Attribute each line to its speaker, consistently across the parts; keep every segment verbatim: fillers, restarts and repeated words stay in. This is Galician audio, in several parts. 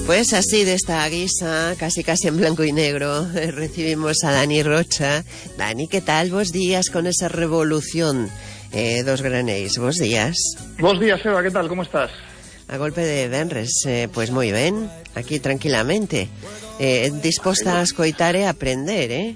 Speaker 1: Pues así, de esta guisa, casi casi en blanco y negro, eh, recibimos a Dani Rocha. Dani, ¿qué tal? Bos días con esa revolución eh, dos granéis. Bos días.
Speaker 2: Bos días, Eva, ¿qué tal? ¿Cómo estás?
Speaker 1: A golpe de venres, eh, pues moi ben, aquí tranquilamente. Eh, disposta a escoitar e aprender, eh?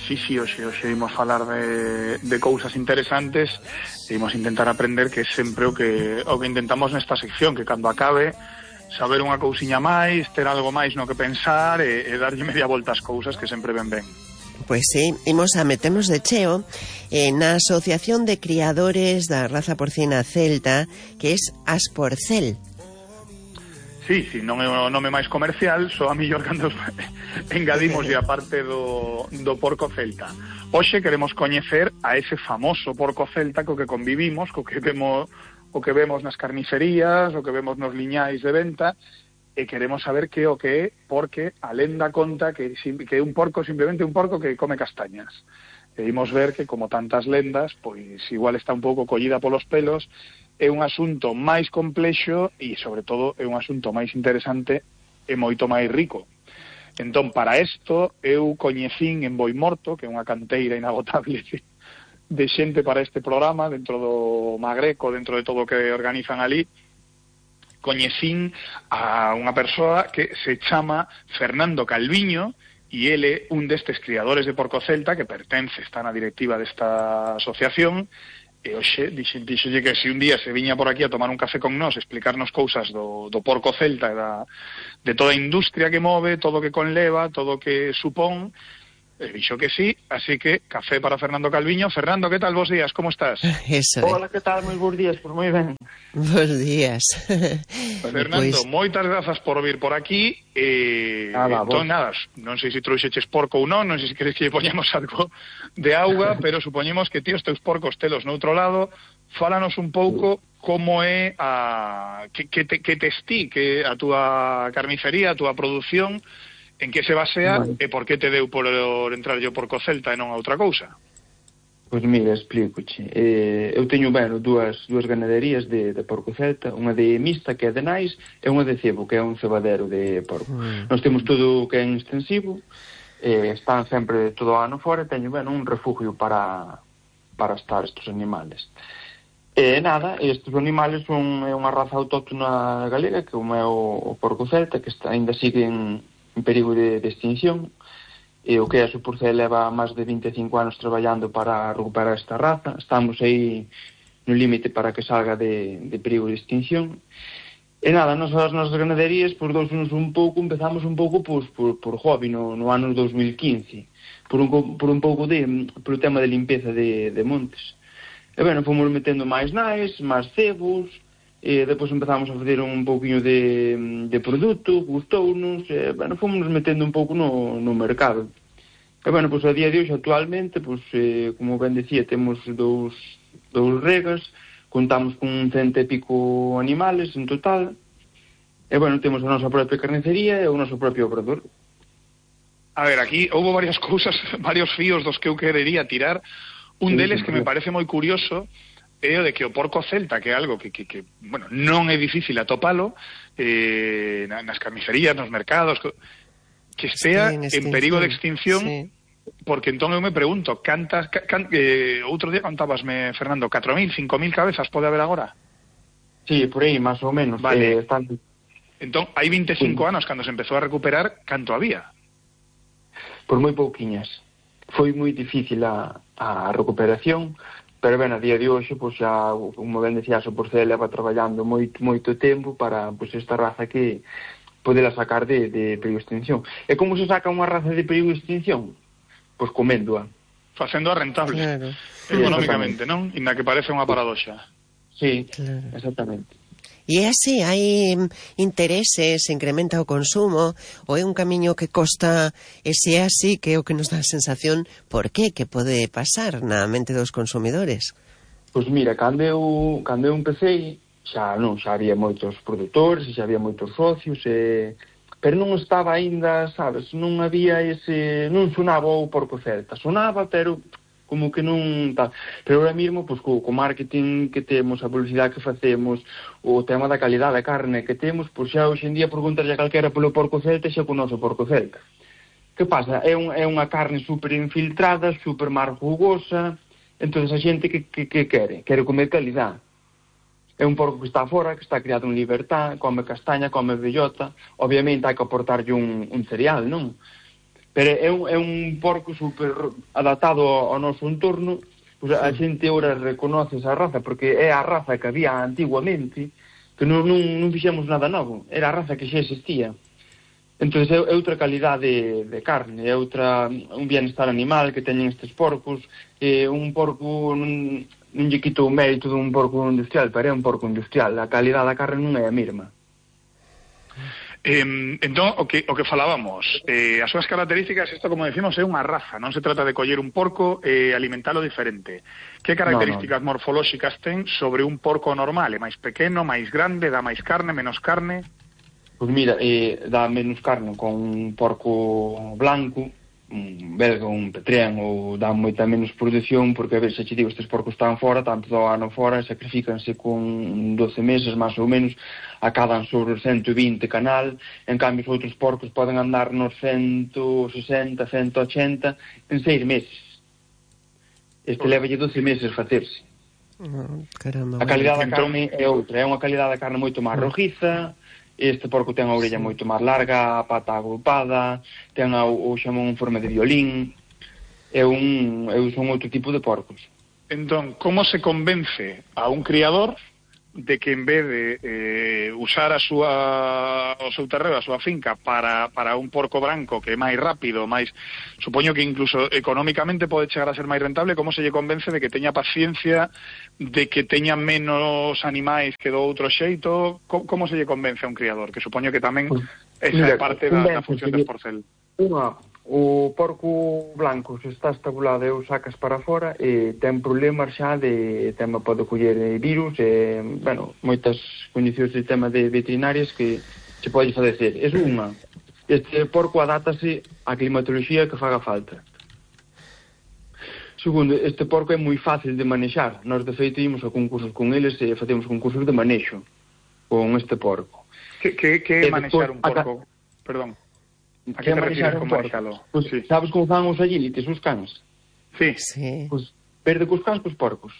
Speaker 2: Sí, sí, hoxe, hoxe imos falar de, de cousas interesantes e imos intentar aprender, que é sempre o que, o que intentamos nesta sección, que cando acabe saber unha cousiña máis, ter algo máis no que pensar e, e darlle media volta ás cousas, que sempre ven ben.
Speaker 1: Pois sí, imos a meternos de cheo eh, na Asociación de Criadores da Raza Porcina Celta, que é Asporcel.
Speaker 2: Sí, sí, non é o nome máis comercial, só a millor cando engadimos a parte do, do porco celta. Hoxe queremos coñecer a ese famoso porco celta co que convivimos, co que vemos, o que vemos nas carnicerías, o que vemos nos liñais de venta, e queremos saber que o que é, porque a lenda conta que, que é un porco, simplemente un porco que come castañas. E imos ver que, como tantas lendas, pois igual está un pouco collida polos pelos, é un asunto máis complexo e, sobre todo, é un asunto máis interesante e moito máis rico. Entón, para isto, eu coñecín en Boimorto, que é unha canteira inagotable de xente para este programa, dentro do Magreco, dentro de todo o que organizan ali, coñecín a unha persoa que se chama Fernando Calviño, e ele un destes criadores de porco celta que pertence, está na directiva desta asociación, e hoxe dixenlle que se un día se viña por aquí a tomar un café con nós, explicarnos cousas do, do porco celta e da, de toda a industria que move, todo o que conleva, todo o que supón, e dixo que sí, así que café para Fernando Calviño. Fernando, que tal? Bos días, como estás?
Speaker 1: Eso,
Speaker 3: Hola, que tal? Moi bons días, pois moi ben.
Speaker 1: Bos días.
Speaker 2: Fernando, pues moitas grazas por vir por aquí. E eh, entón, nada, non sei se trouxeches porco ou non, non sei se queres que lle poñamos algo de auga, pero supoñemos que ti os teus porcos telos noutro lado. Fálanos un pouco como é a que, que, te, que tes ti, que a túa carnicería, a túa produción, en que se basea, vale, e por que te deu por entrar yo porco celta e non a outra cousa?
Speaker 3: Pois mira, explícoche. Eh, eu teño, bueno, dúas, dúas ganaderías de, de porco celta, unha de mixta, que é de nais, e unha de cebo, que é un cebadero de porco. Mm. Nós temos todo o que é en extensivo, eh, están sempre todo o ano fora, e teño, bueno, un refugio para, para estar estes animales. E nada, estes animales son é unha raza autóctona galega, que como é o, o porco celta, que está, ainda siguen en perigo de, de extinción, e o que é a Asporcel leva máis de vinte e cinco anos traballando para recuperar esta raza. Estamos aí no límite para que salga de, de perigo de extinción. E nada, nos, as nosas ganaderías, por dous anos un pouco, empezamos un pouco pues, por, por hobby no, no ano dos mil quince, por un, por un pouco de, por o tema de limpeza de, de montes. E bueno, fomos metendo máis nais, máis cebos, e depois empezamos a fazer un pouquinho de, de produto, gustounos, e, bueno, fomos metendo un pouco no, no mercado. E, bueno, pois a día de hoxe, actualmente, pois, eh, como ben decía, temos dous, dous regas, contamos con cento e pico animales en total, e, bueno, temos a nosa propia carnicería e o noso propio obrador.
Speaker 2: A ver, aquí houve varias cousas, varios fíos dos que eu querería tirar. Un deles que me parece moi curioso é o de que o porco celta, que é algo que, que, que bueno, non é difícil atopalo, eh, nas carnicerías, nos mercados, que estea sí, en, en perigo de extinción, sí. Porque entón eu me pregunto, cantas, can, eh, outro día contábasme, Fernando, catro mil, cinco mil cabezas pode haber agora?
Speaker 3: Sí, por aí, máis ou menos.
Speaker 2: Vale.
Speaker 3: Eh, están...
Speaker 2: Entón, hai veinticinco sí. anos, cando se empezou a recuperar, canto había?
Speaker 3: Por moi pouquiñas. Foi moi difícil a, a recuperación, pero ben, a día de hoxe, pois xa, como ben decía, a Asporcel leva traballando moito, moito tempo para, pois, esta raza que podela sacar de, de perigo de extinción. E como se saca unha raza de perigo de extinción? Pois coméndoa.
Speaker 2: Facéndoa rentable, claro. Económicamente, non? Inda que parece unha paradoxa.
Speaker 3: Sí, claro. Exactamente.
Speaker 1: E é así, hai intereses, se incrementa o consumo, ou é un camiño que costa, e se é así, que é o que nos dá a sensación, por qué, que pode pasar na mente dos consumidores?
Speaker 3: Pois mira, cando eu, cando eu empecé, xa non, xa había moitos produtores, xa había moitos socios, e... pero non estaba aínda, sabes, non había ese, non sonaba o porco celta, sonaba, pero como que non tal. Pero ahora mesmo, pois, co, co marketing que temos, a publicidade que facemos, o tema da calidade da carne que temos, pois xa hoxe en día preguntarlle a calquera polo porco celta xa con o noso porco celta. Que pasa? É, un, é unha carne super infiltrada, super mar jugosa, entón a xente que, que, que quere? Quere comer calidade. É un porco que está fora, que está criado en libertad, come castaña, come bellota, obviamente hai que aportarlle un, un cereal, non? Pero é un, é un porco super adaptado ao, ao noso entorno, pues a xente ora reconoce esa raza, porque é a raza que había antiguamente, que non, non, non fixemos nada novo, era a raza que xa existía. Entón é, é outra calidade de, de carne, é outra, un bienestar animal que teñen estes porcos, é un porco non, non lle quito o mérito dun porco industrial, pero é un porco industrial, a calidade da carne non é a mesma.
Speaker 2: Eh, entón, o que, o que falábamos, eh, as súas características, isto como decimos é unha raza, non se trata de coller un porco e eh, alimentalo diferente. Que características no, no. morfolóxicas ten sobre un porco normal? É máis pequeno, máis grande, dá máis carne, menos carne?
Speaker 3: Pois mira, eh, dá menos carne con un porco blanco, un belga, un petrén, ou dá moita menos produción, porque a ver, se che digo, estes porcos están fora, tanto do ano fora, sacrifícanse con doce meses, máis ou menos, acadan sobre os cento e vinte canal, en cambio os outros porcos poden andar nos cento sesenta, cento ochenta en seis meses. Este levalle doce meses facerse.
Speaker 1: Oh, caramba,
Speaker 3: a calidade da carne é outra, é unha calidade da carne moito máis rojiza. Este porco ten a orella moito máis larga, a pata agrupada, ten a, o xamón en forma de violín. É un, é, son outro tipo de porcos.
Speaker 2: Entón, como se convence a un criador de que en vez de eh, usar a súa, o seu terreo, a súa finca para, para un porco branco que é máis rápido, máis, supoño que incluso económicamente pode chegar a ser máis rentable, como se lle convence de que teña paciencia, de que teña menos animais que do outro xeito? Como, como se lle convence a un criador? Que supoño que tamén esa é parte da, da función do porcel.
Speaker 3: Unha, o porco blanco se está estabulado e o sacas para fora e ten problemas xa de tema, pode coller virus e, bueno, moitas condicións de tema de veterinarias que se pode fadecer. É unha. Este porco adátase á climatoloxía que faga falta. Segundo, este porco é moi fácil de manexar. Nós, de feito, ímos a concursos con eles e facemos concursos de manexo con este porco.
Speaker 2: Que, que, que é manexar un porco? A... Perdón.
Speaker 3: A que te refires con manexalo? Pues, sí. Sabes como fan os agilites, os cans?
Speaker 2: Sí.
Speaker 3: sí. Pues, verde cos cans, cos porcos.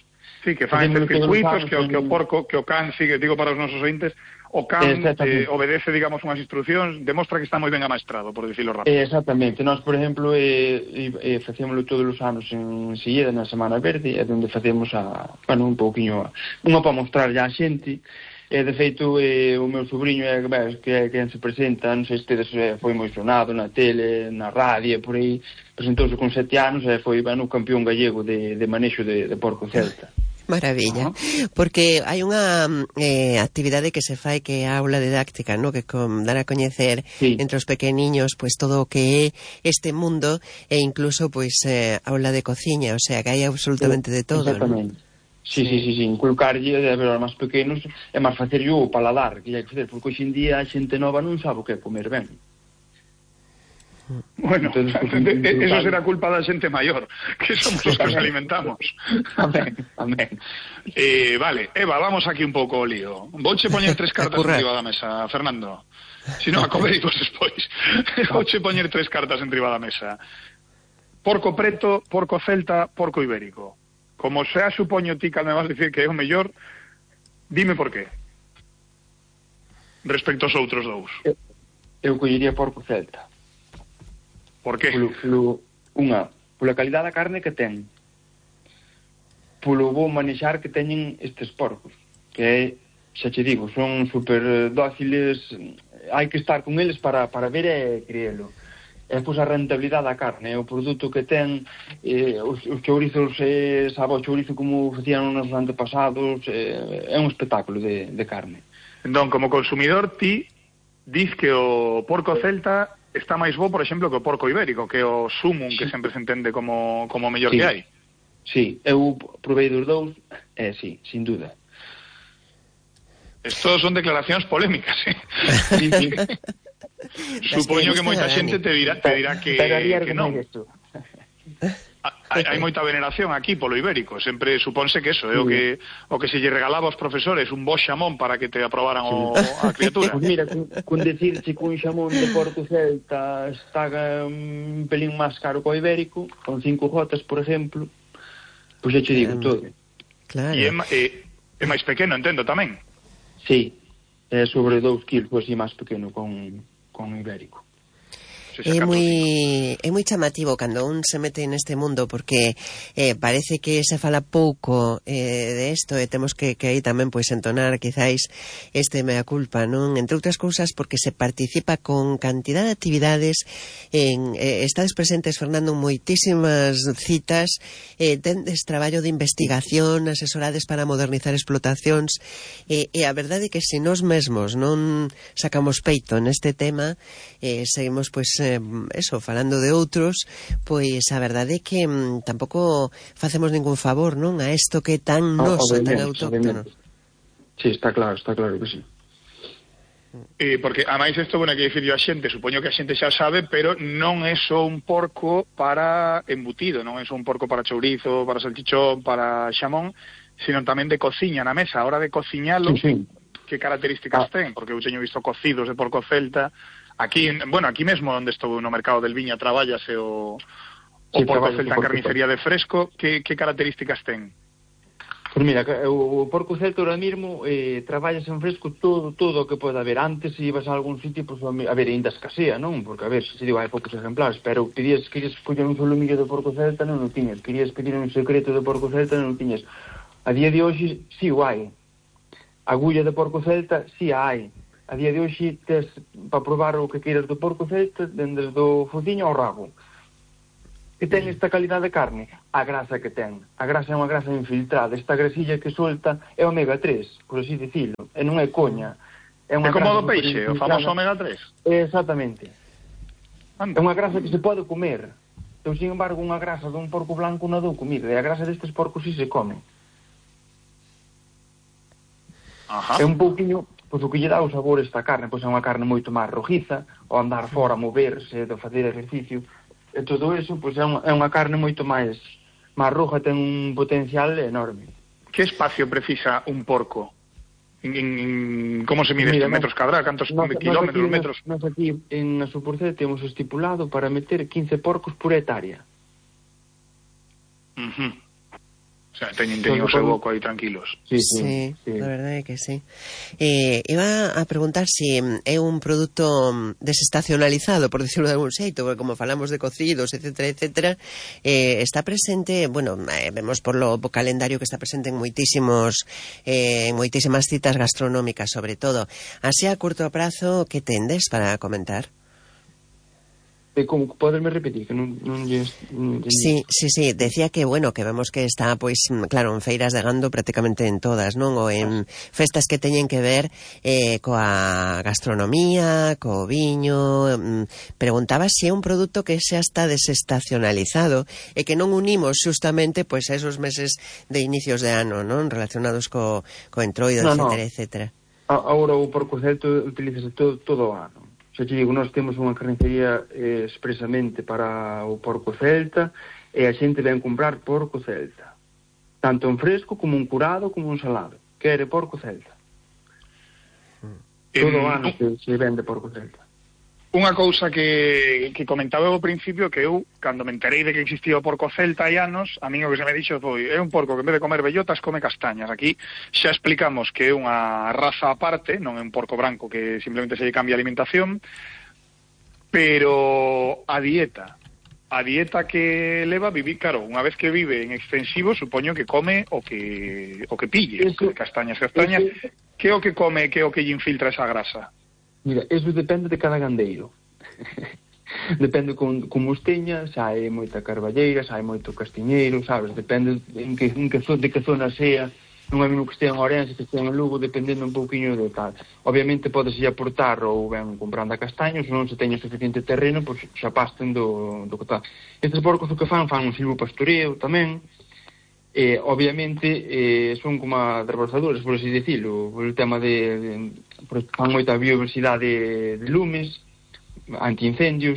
Speaker 2: Sí, que fan estes circuitos, que, que o porco, que o can sigue, digo para os nosos ointes, o can eh, obedece, digamos, unhas instruccións, demostra que está moi ben amaestrado, por dicirlo rápido.
Speaker 3: Exactamente. Nós, por exemplo, eh, eh, facémoslo todos os anos en Silleda, na Semana Verde, é onde facemos a, bueno, un pouquiño, unha para mostrar ya a xente. E, de feito, eh, o meu sobrinho é que é quen se presenta, non sei se tedes, eh, foi moi sonado na tele, na radio, por aí, presentouse con sete anos e foi, bueno, campeón gallego de, de manexo de, de porco celta.
Speaker 1: Maravilla, uh-huh. Porque hai unha eh, actividade que se fai que é a aula didáctica, ¿no? Que con dar a coñecer sí. entre os pequeniños pues todo o que é este mundo e incluso pues eh, aula de cociña, o sea que hai absolutamente de todo,
Speaker 3: exactamente, ¿no? Sí, sí, sí, sí, inculcarlle a ver, aos máis pequenos é máis facer o paladar que hai que facer, porque hoxe en día a xente nova non sabe o que é comer ben.
Speaker 2: Bueno, entonces, pues, eso será culpa da xente maior, que somos os que os alimentamos.
Speaker 3: Amén, amén.
Speaker 2: Eh, vale, Eva, vamos aquí un pouco o lío. Vouche poñer tres cartas enriba da mesa, Fernando. Si non, a comer vos despois. Vouche poñer tres cartas enriba da mesa. Porco preto, porco celta, porco ibérico. Como xa supoño ti que me vas dicir que é o mellor, dime por qué. Respecto aos outros dous.
Speaker 3: Eu, eu collería porco celta.
Speaker 2: Por qué?
Speaker 3: Polo, polo, unha, pola calidad da carne que ten. Polo bo manexar que teñen estes porcos. Que é, xa che digo, son super dóciles, hai que estar con eles para, para ver e creelo. E pois a rentabilidade da carne, o produto que ten, eh, os, os chourizos, eh, sabe o chourizo como facían nos antepasados, eh, é un espectáculo de, de carne.
Speaker 2: Entón, como consumidor, ti dis que o porco celta está máis bo, por exemplo, que o porco ibérico, que o sumum, sí. que sempre se entende como, como o mellor
Speaker 3: sí.
Speaker 2: que hai.
Speaker 3: Sí, eu provei dos dous, eh, sí, sin duda.
Speaker 2: Estos son declaracións polémicas, eh?
Speaker 3: Sí, sí.
Speaker 2: Supoño que moita xente te dirá, te dirá que, que non. hai, hai moita veneración aquí polo ibérico, sempre suponse que eso é o que o que se lle regalaba aos profesores, un bo xamón para que te aprobaran o, a criatura.
Speaker 3: Pues mira, con, con decirche que un xamón de Porco Celta está un pelín máis caro co ibérico, con cinco gotas, por exemplo, pois pues xa che digo um, todo.
Speaker 1: Claro.
Speaker 2: E é, é, é máis pequeno, entendo, tamén?
Speaker 3: Sí, é sobre dous kilos, pois, máis pequeno con, con ibérico.
Speaker 1: É moi é moi chamativo cando un se mete neste mundo porque eh, parece que se fala pouco eh, de isto e temos que, que aí tamén pois entonar quizáis este mea culpa, non? Entre outras cousas porque se participa con cantidad de actividades en, eh, estades presentes, Fernando, en moitísimas citas, eh, tendes traballo de investigación, asesorades para modernizar explotacións eh, e a verdade é que se nós mesmos non sacamos peito neste tema, eh, seguimos pois eh, eso, falando de outros, pois a verdade é que mm, tampouco facemos ningún favor, non? A isto que é tan noso, tan autóctono.
Speaker 3: Sí, está claro, está claro que sí.
Speaker 2: Eh, porque, a máis isto, bueno, que dicir a xente, supoño que a xente xa sabe, pero non é só un porco para embutido, non é só un porco para chourizo, para salchichón, para xamón, sino tamén de cociña na mesa. A hora de cociñalo, sí, sí. Que características ah. ten? Porque eu teño visto cocidos de porco celta. Aquí, bueno, aquí mesmo onde estou no mercado del Viña traballase o, o sí, porco celta en carnicería de fresco. Que, que características ten?
Speaker 3: Pois mira, o porco celta ahora mesmo eh, traballas en fresco todo todo o que pode haber. Antes, se ibas a algún sitio, pois, pues, a ver, ainda escasea, non? Porque, a ver, se digo, hai poucos ejemplares, pero pedías, querías coller un solomillo de porco celta, non o tiñas. Querías pedir un secreto de porco celta, non o tiñas. A día de hoxe, si o hai. Agulla de porco celta, si a hai. A día de hoxe, tes para probar o que queiras do porco celta, dende do fociño ao rabo. Que ten esta calidad de carne? A grasa que ten. A grasa é unha grasa infiltrada. Esta grasilla que solta é omega tres, por así dicilo. E non é coña.
Speaker 2: É, é como do peixe, o famoso omega tres.
Speaker 3: Exactamente. Anda. É unha grasa que se pode comer. Eu, sin embargo, unha grasa dun porco blanco non dou comida. E a grasa destes porcos si se come.
Speaker 2: Ajá.
Speaker 3: É un pouquinho... Pois o que lle dá o sabor esta carne, pois é unha carne moito máis rojiza, ao andar fora, moverse, de facer exercicio, e todo eso, pois é unha, é unha carne moito máis máis roja, ten un potencial enorme.
Speaker 2: Que espacio precisa un porco? En, en, como se mide este metros cadrados? Cantos nos, kilómetros,
Speaker 3: nos
Speaker 2: metros?
Speaker 3: Nós aquí en a Supercel temos estipulado para meter quince porcos por hectárea.
Speaker 2: Uh -huh. O sea, teñen, teñen o seu boco aí tranquilos.
Speaker 1: Sí, sí, sí, sí, la verdade é que sí. Eh, iba a preguntar se si é un produto desestacionalizado, por decirlo de algún xeito, porque como falamos de cocidos, etcétera, etcétera, eh, está presente, bueno, eh, vemos por lo po calendario que está presente en moitísimos eh, en moitísimas citas gastronómicas, sobre todo. Así a curto prazo, que tendes para comentar?
Speaker 3: Eh, como poderme repetir que non, non lles, non lles...
Speaker 1: Sí, sí, sí, decía que bueno, que vemos que está pois claro, en feiras de gando prácticamente en todas, non? Ou en festas que teñen que ver eh, coa gastronomía, co viño. Preguntaba se é un produto que xa está desestacionalizado e que non unimos justamente pois a esos meses de inicios de ano, non? Relacionados co, co entroido, no, etcétera, no. etcétera.
Speaker 3: Agora o porco celta utilízase todo, todo o ano. Xa te digo, nós temos unha carnicería eh, expresamente para o porco celta e a xente ven comprar porco celta. Tanto en fresco, como un curado, como un salado. Quere porco celta. Todo o ano que se vende porco celta.
Speaker 2: Unha cousa que, que comentaba ao principio, que eu, cando me enterei de que existía o porco celta hai anos, a mí o que se me dixo foi, é un porco que en vez de comer bellotas come castañas. Aquí xa explicamos que é unha raza aparte, non é un porco branco que simplemente se lle cambia a alimentación, pero a dieta, a dieta que leva vivir, claro, unha vez que vive en extensivo, supoño que come o que o que pille, eso, castañas, castañas, eso, que é o que come, que é o que lle infiltra esa grasa?
Speaker 3: Mira, eso depende de cada gandeiro. Depende con, como os teña, xa hai moita carballeira, xa hai moito castiñeiro, sabes? Depende en que, en que, de que zona sea. Non é mesmo que estea en Ourense, que estea en Lugo, dependendo un pouquiño de tal. Obviamente podese aportar ou ben comprando a castaños, non se teña suficiente terreno, pois xa pasten do, do que tal. Estes porcos o que fan, fan un silvopastoreo tamén. Eh, obviamente eh, son como reborsadores, por así decirlo, por el tema de, de por, fan moita biodiversidade de, de lumes, antiincendios,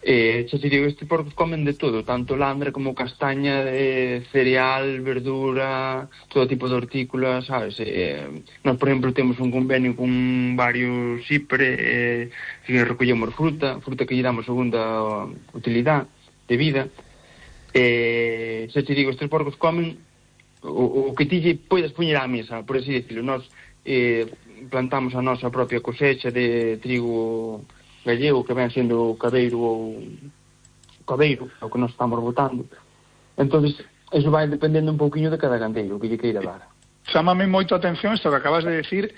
Speaker 3: Eh, xa te digo, estes porcos comen de todo, tanto landra como castaña, eh, cereal, verdura, todo tipo de hortícolas, sabes? Eh, nós, por exemplo, temos un convenio con varios cipre, eh, que recollemos fruta, fruta que lle damos segunda utilidade de vida. Eh, xa te digo, estes porcos comen o, o que ti lle podes poñer á mesa, por así decirlo. Nós eh, plantamos a nosa propia cosecha de trigo gallego, que ven sendo cabeiro ou cabeiro, o que nos estamos botando. Entonces, eso vai dependendo un pouquiño de cada gandeiro que lle queira dar.
Speaker 2: Chámame moito a atención isto que acabas de decir,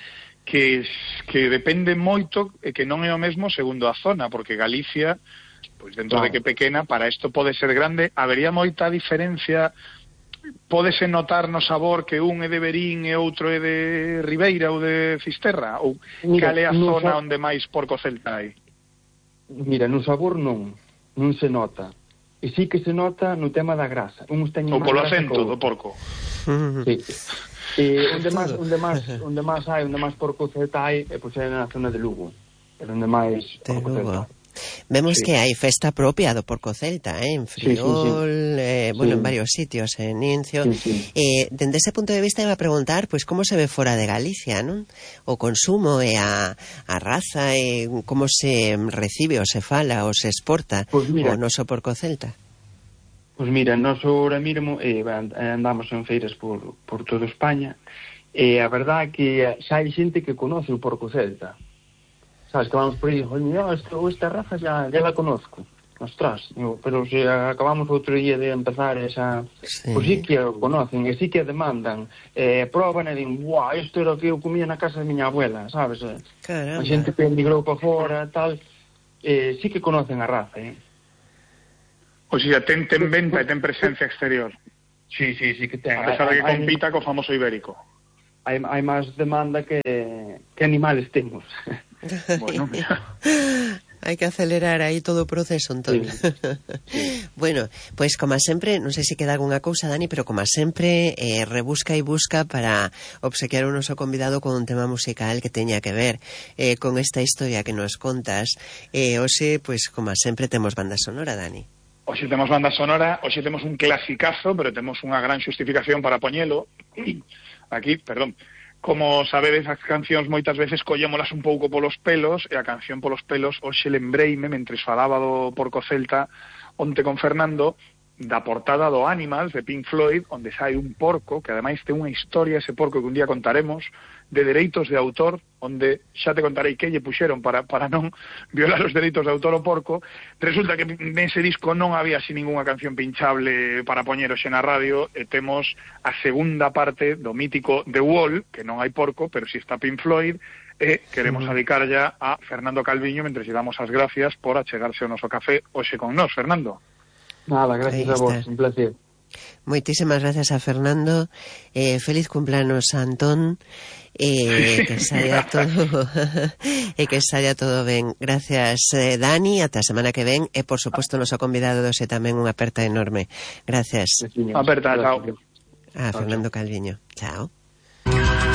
Speaker 2: que que depende moito e que non é o mesmo segundo a zona, porque Galicia, pois dentro claro. de que pequena, para isto pode ser grande, habería moita diferencia, pódese notar no sabor que un é de Verín e outro é de Ribeira ou de Fisterra, ou cal é a zona onde máis porco celta hai?
Speaker 3: Mira, no sabor non, non se nota. E sí que se nota no tema da grasa. Uns teñen
Speaker 2: ou polo acento do porco.
Speaker 3: Sí. E onde máis, onde máis, onde máis hai, onde máis porco celta hai, é pois é na zona de Lugo. É onde máis porco celta.
Speaker 1: Vemos
Speaker 3: sí.
Speaker 1: que hai festa propia do porco celta, eh? En Friol, sí, sí, sí. Eh, bueno, sí. en varios sitios, en Incio. Sí, sí. Eh, dende ese punto de vista iba a preguntar, pois, pues, como se ve fora de Galicia, non? O consumo e a, a raza, e como se recibe ou se fala ou se exporta pues mira, o noso porco celta.
Speaker 3: Pois pues mira, nós ahora mesmo eh, andamos en feiras por, por toda España, e a verdade é que xa hai xente que conoce o porco celta. Sabes, que vamos por aí, oye, esta, esta raza ya, ya la conozco, ostras, digo, pero se acabamos outro día de empezar esa, sí. Pues sí que o conocen, e sí que demandan, eh, proban e din, guau, isto era o que eu comía na casa de miña abuela, sabes?
Speaker 1: Caramba.
Speaker 3: A xente que emigrou para fora, tal, eh, sí que conocen a raza, eh.
Speaker 2: O sea, ten, ten venta e ten presencia exterior.
Speaker 3: Sí, sí, sí que ten.
Speaker 2: A pesar de que compita co famoso ibérico.
Speaker 3: Hai, hai máis demanda que, que animales temos.
Speaker 2: Bueno, mira.
Speaker 1: Hai que acelerar aí todo o proceso, entón. Sí. Sí. Bueno, pois, pues, como sempre, non sei se queda algunha cousa, Dani, pero como sempre, eh, rebusca e busca para obsequiar o noso convidado con un tema musical que teña que ver eh, con esta historia que nos contas. Eh, hoxe, pois, pues, como sempre, temos banda sonora, Dani.
Speaker 2: Hoxe temos banda sonora, hoxe temos un clasicazo, pero temos unha gran xustificación para poñelo. Aquí, perdón. Como sabedes, as cancións moitas veces collémolas un pouco polos pelos, e a canción polos pelos hoxe lembreime, mentres falaba do porco celta onte con Fernando, da portada do Animals de Pink Floyd, onde sai un porco, que ademais ten unha historia ese porco que un día contaremos, de dereitos de autor, onde xa te contarei que lle puxeron para, para non violar os dereitos de autor o porco. Resulta que nese disco non había así ninguna canción pinchable para poñer hoxe na radio, e temos a segunda parte do mítico The Wall, que non hai porco, pero si está Pink Floyd, e queremos dedicar ya a Fernando Calviño, mentre lle damos as gracias por achegarse ao noso café hoxe con nós. Fernando.
Speaker 3: Nada, gracias a vos, un placer.
Speaker 1: Moitísimas gracias a Fernando, eh, feliz cumpleanos a Antón, eh, que saia todo e que saia todo ben. Gracias, eh, Dani, ata a semana que ven, e por suposto noso convidado doce tamén unha aperta enorme. Gracias.
Speaker 2: Aperta, chao.
Speaker 1: A Fernando Calviño. Chao.